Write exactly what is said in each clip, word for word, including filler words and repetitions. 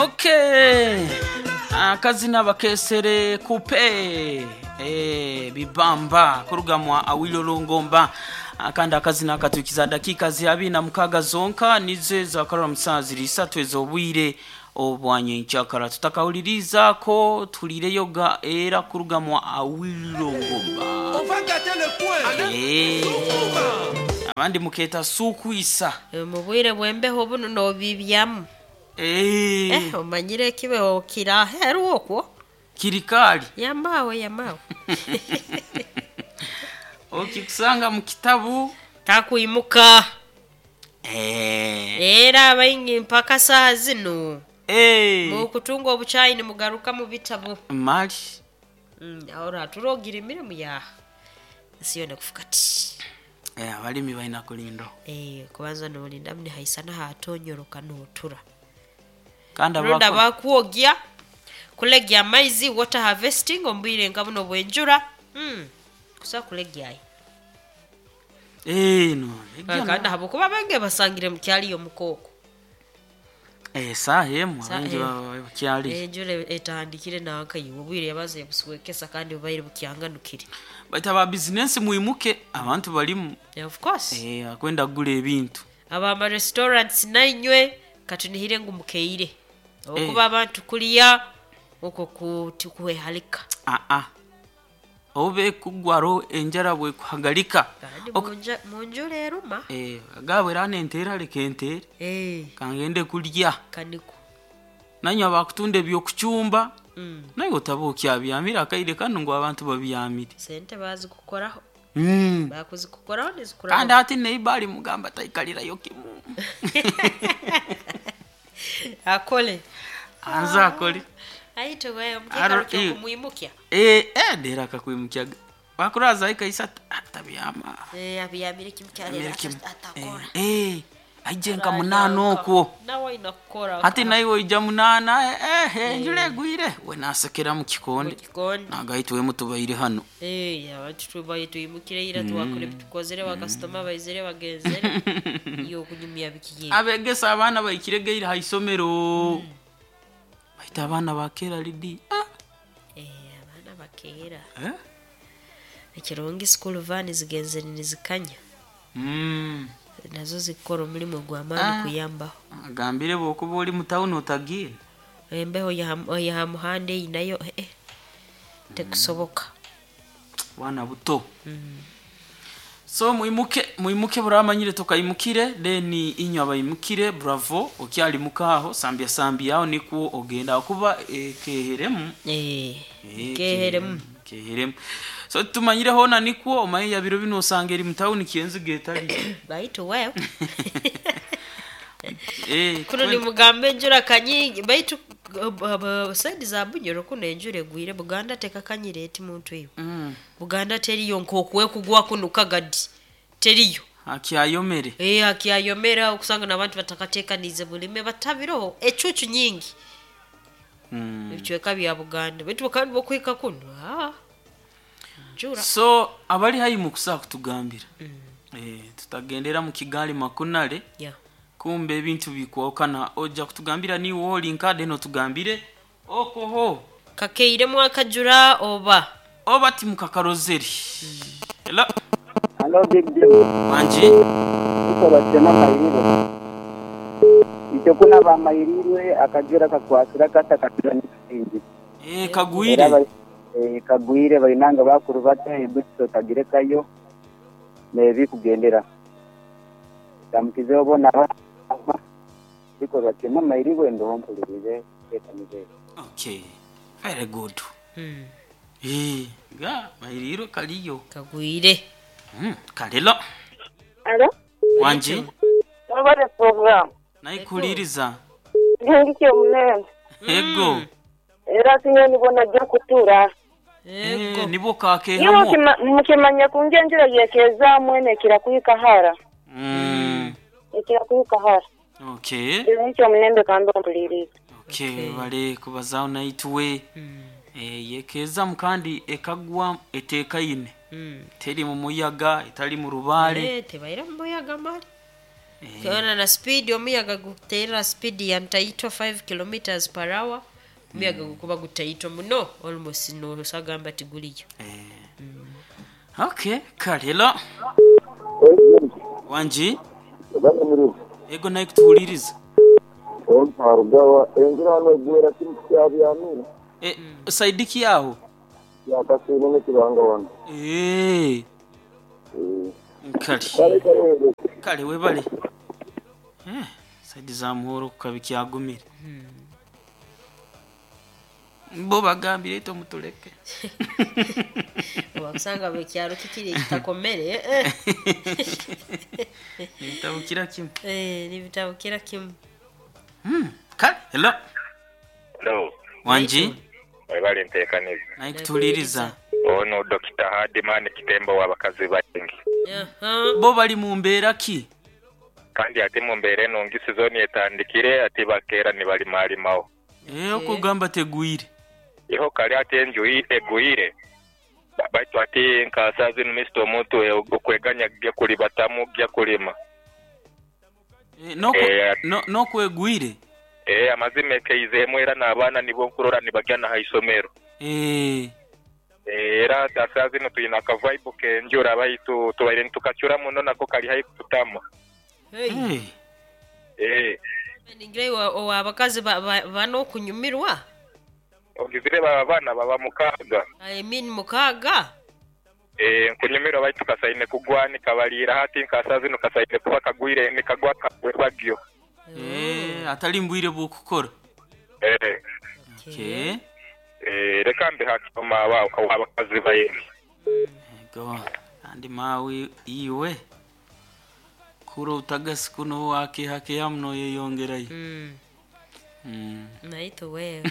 Okay, akazina bakesere kupe eh, bibamba kurugamwa Awilo Longomba. Akandi akazina akatukiza dakika ziabi na mukaga zonka nize zakarora musazi risatu ezobwire obwanyenkyakara tutakawuliriza ko tulireyo ga era kurugamwa Awilo Longomba. On va gâter le point. Eh, abandi muketa sukuisa. Mu bwire bw'embeho buno nobibyamu. Eh, Eh, omanyire ekibeho kiraheru okwo. Kirikali. Yamawe yamawe. Okikusanga mu kitabu. Takwimuka. Eh. Era abaingi mpaka saaha zino. Eh. Mukutunga obuchayi nimugaruka mu bitabo. Mali. Mm, ora turogira emirimu yaha. Ensi yoona kufuka ti. Eh, abalimi balina kulindo. Eh, kubanza nolinda nihaisana hatonyoroka notura. Kandi Ronda abako bakwogya kulegya amaizi, water harvesting ombwire nka buno bwenjura. Mm. Kusa kulegyayo. Eh, no. Kandi habwokuba bange basangire mu kyaliyo mukooko. Eh, saha emu Saha abangi emu. baba bakyali. Enjura etandikire nanka iwe obwire yabaze buswekesa kandi bubaire bukyanganukire. Baita ba business muimuke abantu balimu. Yeah, of course. Eh, akwenda kugula ebintu. Abama restaurants nainywe katunihire ngu mukeire. Okuba abantu kuliya okwo kutukuhehalika. Ah ah. Obe kugwaro enjara bwe kuhagalika. Kandi Ok. munja munjura eruma. Eh, agabwe rana entera leka entere. Eh, Kangende kulya. kaniku. Nanywa bakutunda ebyokucumba. Mm. Naye otaba okyabyamira akaire kano ngu abantu babyamire. Sente bazikukoraho. Mm. Bakuzikukoraho nizikuraho. Kandi ati neighbor mugamba taikalirayo kimu. Akole. Anza akole. Aite wewe Aro- mkikaro eh. kyokumwimukya. Eh, eh dera akakwimukyaga. Bakuraza ikaisa atabyama. Eh, abyamire kimu kyalera Kimu. atakora. Eh, eh aije nka munana okwo. Nawe ina kukora. Ati naiwe oija munana eh eh enjura egwire we nasekera mu kikonde. Kikonde. Nagaitwe mutubaire hano. Eh, abantu tubaye tuyimukire ira twakore bitukozere bakasitoma baizere bagenzere. Iyo kunyumya bikiye. Abegesa abaana baikiregeire ha isomero. Baita abaana bakera lidi. Ah. Eh, abaana bakera. Eh? Ekirungi school van zigenzere nizikanya. Mm. Nazo zikora omulimu gw'amaani Ah. kuyambaho. Agambire bwokuba oli mu tawuni otagiire. Embeho ya ya muhanda eyi nayo eh, eh, tekusoboka. Bwana buto. So muimuke muimuke buramanyire tukayimukire then inywa abayimukire bravo okyali mukaho sambya sambya aho nikwo ogenda kuba ekeheremu. Eh, Eh, keheremu. Keheremu. So tumanyire hona nikwo omaye ya biro bino osanga eri mu tawuni kienzi getali. Baitu wewe. Eh, Kuno nimugambe enjura kanyingi baitu saidi za Bunyoro kuno enjura egwire Buganda tekakanyire eti muntu eyo. Mm. Buganda teriyo nk'okuwe kugwa kuno kagadi teriyo. Akyayomere. Eh, akyayomera okusanga n'abantu batakateekanize bulime batabiroho ecucu nyingi. Mm. Ebicweka bya Buganda baitu kandi bokuhika kuno ah. Njura. So abali hayi mukusa kutugambira. Eh, tutagendera mu Kigali makunale. Yeah. Kumbe ebintu bikwokana ojja kutugambira ni woli nkade no tugambire okoho Kakeire mwakajura oba oba ti mukakarozeri. Hello. Hello, Big Deal. Wanje. Uko batema mayiriro. Icyo kuna ba mayirirwe akajura kakwasira kata katura n'ikindi. Eh, kagwire. Eh, kagwire bainanga bakuru bata ebutso tagirekayo nebi kugendera. Tamukize obona ba biko batema mayirirwe ndo mpulirize etanize. Okay. Very good. mm. Eh, ga mayiriro kaliyo. Kagwire. Mm, kalelo. Alo? Wanje. Mwebale program. Nayikuliriza. Ngengikiye omunene. Ego. Era sinye nibona ajja kutuura. Eh, Ego. nibo Iwe kakehamo. mukima- mukimanya kunja enjura yekezaamu eno ekira kuhika Mm. Ekira kuhika hara. Okay. Ngengikiye omunembe kandi ompulirize. Okay, Okay. bale kubazaawo naituwe. Mm. Eh, yekezamu kandi ekagwa eteekaine. Mm. Teri mu muyaga, etali mu rubaale. Eh, tebaira mu muyaga mali. Ukiona na speed omuyaga guteera speed ya ntaito five kilometers per hour, omuyaga gukuba gutaito muno almost nosagamba tiguliyo. Okay, kale hello. Wanji? Ego naye kutuhuliriza. Omparugawa enjura negwera kimu kyabyamira. Eh, saidiki yaho? Yakasine nekibanga wano. Eh. Kale. Kale kale. Kale webale. Eh, saidi za muhoro kukabikyagumire. Bo bagambire ito mutuleke. Wakusanga bekyaro kikiri kitakomere eh. Nibitabukira kimu. Eh, nibitabukira kimu. Hmm. Kale, hello. Hello. Wanji? Webale nteekaniza. Naye kutuuliriza. Ono Dokita Hardman Kitembo w'abakazi baingi. Aha. Bo bali mu mbeera ki? Kandi ate mu mbeera enungi sizoni etandikire ate bakeera ne balimalimawo. Eh, okugamba tegwire. Iho kali ate enju egwire. Baitu ate nka zino misito omuntu okweganya gya kulibatamu gya kulima. Eh, noko Eh, no nokwegwire. Eh, amazima ekeizeemu era n'abaana nibo nkurora nibagya na haisomero. Eh. Era saa zino tuyina akavaibu k'enjura baitu tubaire nitukacura muno nako kali haihi kututama. Hey. Eh. Eh, Ningira iwe abakazi bano okunyumirwa. Ogizire baba baana baba mukaaga. I mean mukaaga. Eh, nkunyumirwa baitu kasaine kugwanika baliira hati nka saa zino kasaine kuba kagwire nikagwa kagwebagyo. Eh, atali mbwire bw'okukora. Eh. Okay. Eh, reka mbe hakoma abakazi baingi. Ego, andi mawe iwe. Kuro utagasi kuno wake hake yamuno yeyongerayo. Mm. Mm. Naito wewe.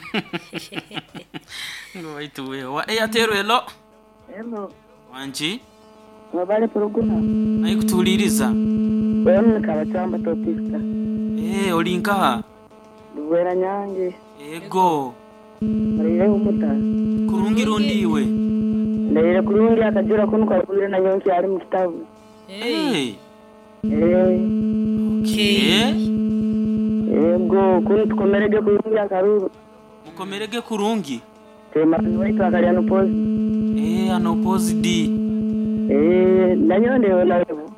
Ngo baitu wewe. Wa Airtel hello. Hello. Wanji? Mwebale puruguna. Naye kutuuliriza. Wewe kabachamba topista. Eh, oli nkaha? Luwera nyange. Ego. Marire umuta. Kurungi rundi iwe. Ndaire kurungi akajura kuno kwagwire na nyonki ali mu kitabu. Hey. Eh. Okay. Ego kuno tukomerege kurungi akaruru. Mukomerege kurungi. Tema waitu akalia no pozi. Eh, ano pozi D. Eh, nanyonde honaebo.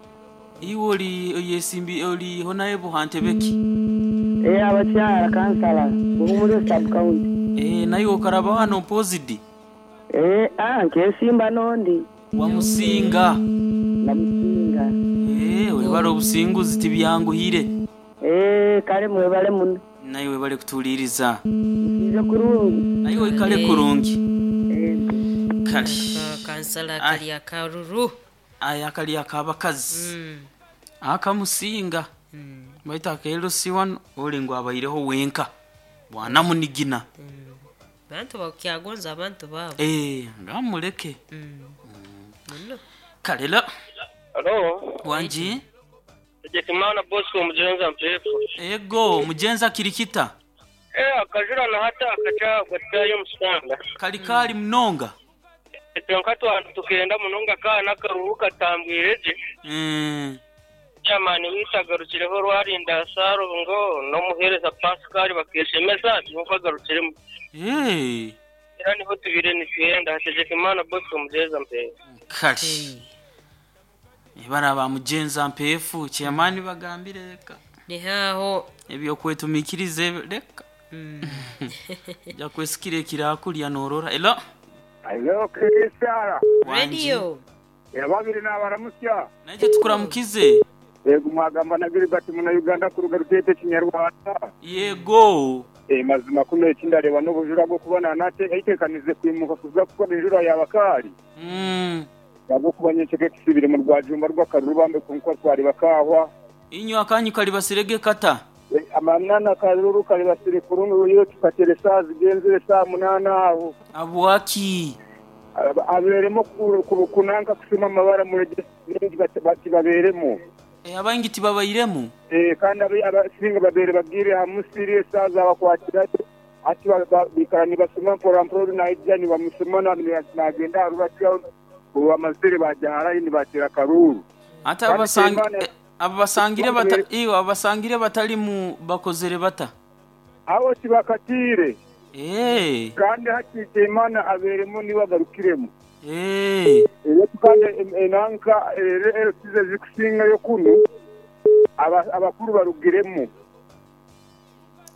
Iwe oli yesimbi oli honaebo hantebeki. Eh, abakyala kansala buhumure sub county. Eh, naye okaraba hano pozi D. Eh, ah, nkesimba nondi. Wamusinga. Namusinga. Eh, webale obusinguzi tibyanguhire. Eh, kale mwebale muno. Naye webale kutuuliriza. Nsize kurungi. Naye oikale kurungi. Eh. Kale. Kansala kali akaruru. Aya kali akabakazi. Mm. Akamusinga. Mm. Baita akelo siwano oli ngo abaireho wenka. Bwana munigina. Mm. Bantu bakyagonza abantu babo. Eh, ngamuleke. Mm. Muno. Kale la. Hello. Wanji? Tegekimana Bosco mujenza mpefu. Ego, mujenza kirikita. Eh, akajura na hata akacha kwatayo musanga. Kali kali mnonga. Etonka twantu tukenda munonga kana karuhuka tambwireje. Mm. Chamani witagarukireho rwarinda sarongo no muhereza Pascal bakeshemeza ntukagarukiremo. Eh. Era niho tubire nitwenda Tegekimana Bosco mujenza mpefu. Kali. Ibara ba mujenza mpefu chamani bagambire reka. Ni haho ebyo kwetumikirize reka. Mm. Ja kwesikire kirakulya norora. Elo. Hello Christiana. Radio. Yababiri n'abaramusya. Naje tukuramukize. Yego mwagamba na Gilbert muna Uganda kuruga rutete kinyarwanda. Yego. Eh, mazima kuno ekindareba n'obujura bwo kubona nate eitekanize kwimuka kuza kuba enjura yabakali. Mm. Yabo kubanye cheke kisibire mu rwajumba rw'akaruru kunko twari bakahwa. Inyo akanyu kali basirege kata. E, amanana karuru kali basire kurungu yo tukatere saa zigenzere saa munana aho. Abwaki. Aberemo kunanka kusuma amabara muri bati baberemo. Eh, abangi tibabairemu. Eh, kandi abasinga babere bagire hamusiri saa zabakwatira ati bikara nibasoma mpora mpora naija nibamusoma nagenda arubatya ubu amazire bajahara nibatera karuru. Ata abasanga Abo basangire bata iyo abasangire batalimu bakozere bata abo tibakatire eh kandi hakite imana aberemo niwe agarukiremo eh era kandi enanka era size zikusinga yo kuno abakuru barugiremo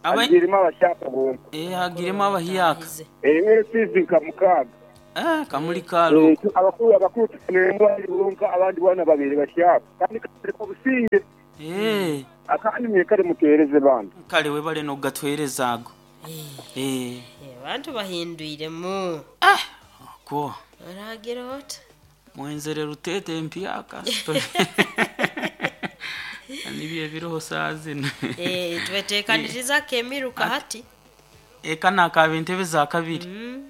agirimo abashaka bonka eh agiremo abahiyaka eh size nkamukaga eh kamuli kalo abakuru abakuru tuneremo bonka abandi bana babiri bashaka kandi kare ko businge eh akandi mwekare mutereze bandi kale we bale no gatwereza ago eh abantu bahindwiremo ah ko aragira ot mwenzere rutete mpyaka nibiye biroho saazino eh tubetekaniriza kemiruka hati eka nakaba entebe za kabiri mm.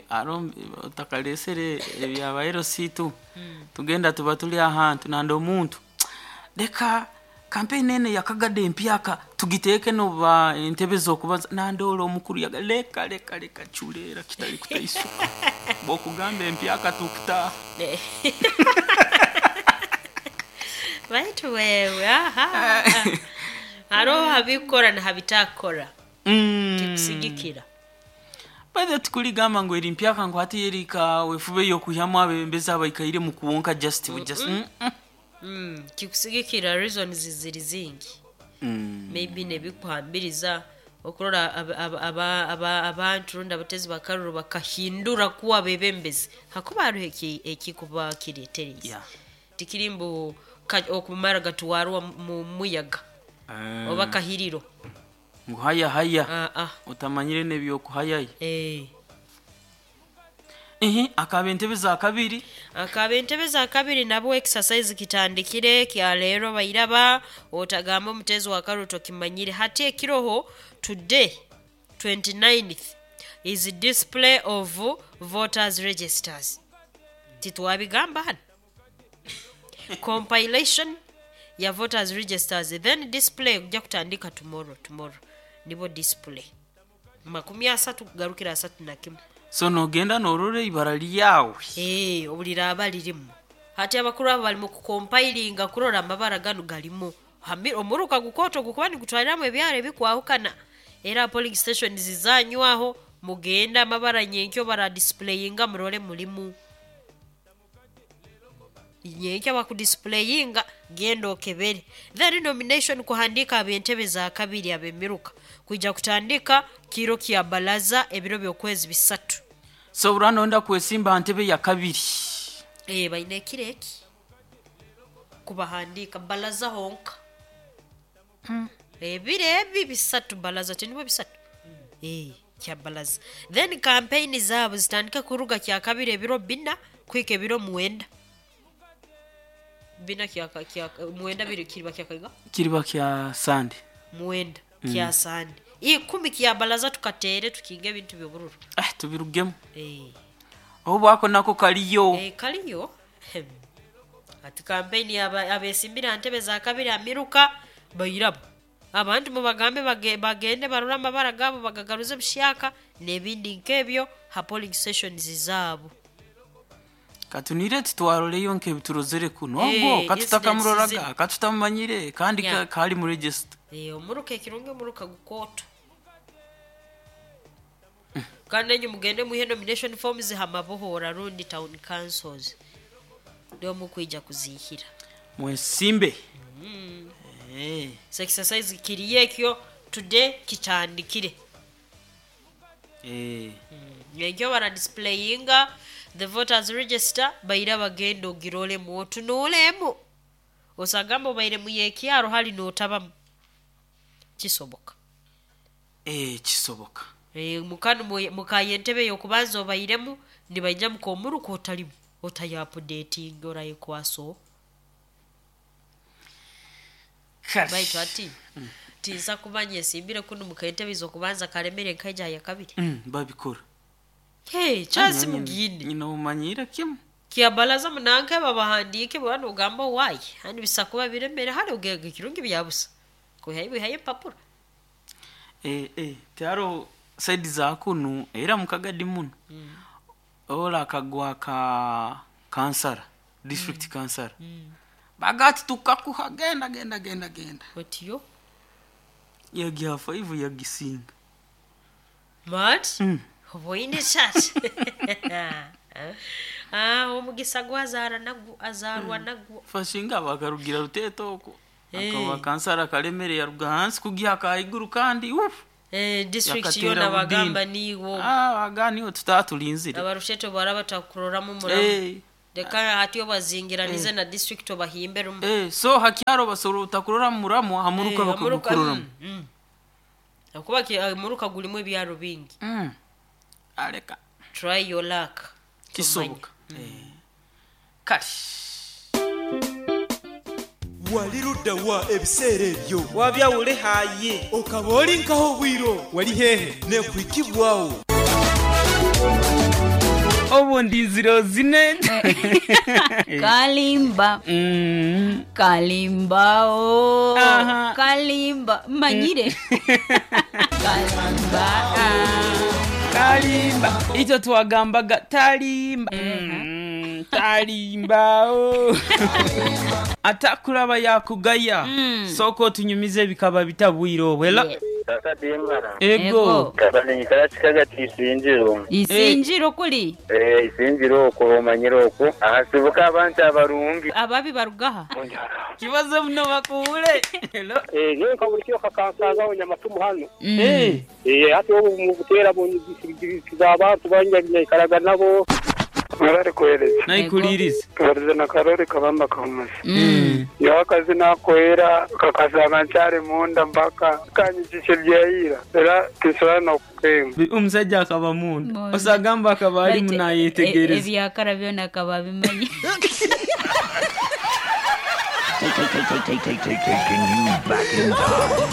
aro otakalesere ebyabairo situ mm. tugenda tuba tuli ahantu nandi omuntu leka kampeni ene yakagade empyaka tugiteeke noba entebe z'okubaza nandoola omukuru yaga leka leka leka chuleera kitali kutaisuka bwokugamba empyaka tukutaaha baitu wewe aha hariho habikora na habitakora mm. tikusigikira baithe tikuligamba ngu eri mpyaka ngu hati erika wefube yokuhyamu abebembezi abaikaire mu kuwonka just mm just mm -mm. Mm, kikusigikira reasons ziri zingi mm. maybe nebikuhambiriza okurora abantu rundi abatezi bakaruru bakahindura kuwa bebembezi hakuba hariho ekikuba kireeterize yeah. tikiri mbu okumara gatuwarwa mu muyaga uh. oba kahiriro ngu haya haya uh, uh. otamanyire nebyokuhayayo eh. Ehe, akaba entebe za kabiri akaba entebe za kabiri nabo exercise kitandikire kya leero bairaba otagamba omutezi wa karuto kimanyire hati ekiroho today twenty-ninth is display of voters registers titwabigamba hano compilation ya voters registers then display kujja kutandika tomorrow tomorrow nibo display makumi asatu kugarukira asatu na kimu so nogenda norora ibara lyawe eh obulira abalirimu hati abakuru abo bali mu kukompilinga kurora amabara gano galimu omuruka gukoto gukuba nigutwaliramu ebyaro ebikwahukana era polling stations zanywaho mugenda amabara nyenkyo bara displayinga murole mulimu nyenkyo bakudisplayinga genda okebere then nomination kuhandika ab'entebe za kabiri ab'emiruka kwijja kutandika kiro kya balaza ebiro by'okwezi bisatu so uranonda kwesimba ntebe ya kabiri eh baine kireki kubahandika balaza honka mm. ebiro ebi bisatu balaza tinibwo bisatu mm. eh kya balaza then campaign zabo zitandika kuruga kya kabiri ebiro bina kwika ebiro mwenda bina kya kya mwenda biri kiriba kya kaiga kiriba kya sande mwenda mm. kya sande ikumi kya balaza tukatere tukinge ebintu byobururu ah tubirugemu eh obo ako nako kaliyo eh kaliyo ati campaign abesimbira ntebe za kabiri amiruka bayirabo abantu mubagambe bagende barura amabara gabo bagagaruze bushaka nebindi nkebyo ha polling stations zabo katunire titwaroleyo nkebiturozere kuno Eh, ogo katutakamuroraga incidents katutamumanyire kandi Yeah. ka, kali mu register eh omuruka ekirungi omuruka gukoto kandi enyu mugende muhe nomination forms hamabohora rundi town councils ndio mukwija kuzihira mwesimbe mm. eh so exercise kiriyo ekyo today kitandikire eh ekyo bara displayinga the voters register baira bagenda ogirolemu otunuulemu osagamba obaire muyekyaro hali notabamu kisoboka eh kisoboka e, mukanu mukaye entebe yokubanza obairemu nibaija mukomuruka otalimu otayapudetinga orayekwaso baitu ati mm. tinsa kumanya esimbire kuno mukaentebe zokubanza kalemere nkaija ya kabiri mm, babikora hey chance mugine nyina umanyira kimu kiyabalaza munanke babahandike bwana ugamba wayi handi bisakuba biremere hali ugega kirungi byabusa kuhayi bihaye empapuro eh eh taro side za kunu era mukagadi muno mm. ola akagwa ka kansara district mm. kansara mm. Bagati tukakuha genda genda genda genda. Otiyo Yagiha five yagisinga. Mat Mm. oboine chat. Ah, omugisa gwazaara nagwo azaarwa nagwo. Fashinga bakarugira ruteto oko. Eh. Akaba kansara kalemere yaruga hansi kugiha kaiguru kandi uf. Eh, district Yakatera yona bagamba Budini. niwo. Ah, bagani tutatulinzire. Abarusheto baraba takuroramu muramu. Eh. Leka hati obazingiranize na district obahimbe rumu. Eh, so hakyaro basoro utakurora muramu hamuruka Eh, hamuruka, bakagukurora. mm, mm. Akuba ki- muruka gulimu ebyaro bingi. Mm. Aleka Try your luck. kisoboka. Eh. Kali. Wali ludda wa ebiseera ebyo? Wabyawule haye. Okaba oli nkaho obwiro wali hehe nekuhikibwawo. Obundi nziro zine. Kalimba. Mm. Kalimba o. Aha. Kalimba manyire. Kalimba. Ah. Kalimba. Icyo twagambaga talimba. Mm, talimba o. Atakulaba yakugaya. Soko tunyumize bikaba bitabwire obwela. Yes. Sasa dimara Ego. kabanyikara kikagati isinjiro. Isinjiro kuli. Eh, isinjiro okwo omanyire okwo ahasibuka abantu abarungi. Ababi barugaha. Kibazo muno bakuwule. Hello. Eh, yewe kabulikio kakansaza nyamatumu hano. Eh. Eh, hati obu mu buteera bunyigiza abantu banyaikaraga nabo. Mwebale kuhereza. Nayikuliriza. Tubarize na Karori Kabamba Kamuzi. Mm. Yowe akazi nakoera kakazaba nkyari munda mpaka kanyikisha ebyayira era tinsobola n'okukemba. Omusajja akaba munda. Munda. Osagamba akaba ali Baitu, munayetegereza. e- ebyakara byona akaba abimanyi. Taking you back in time.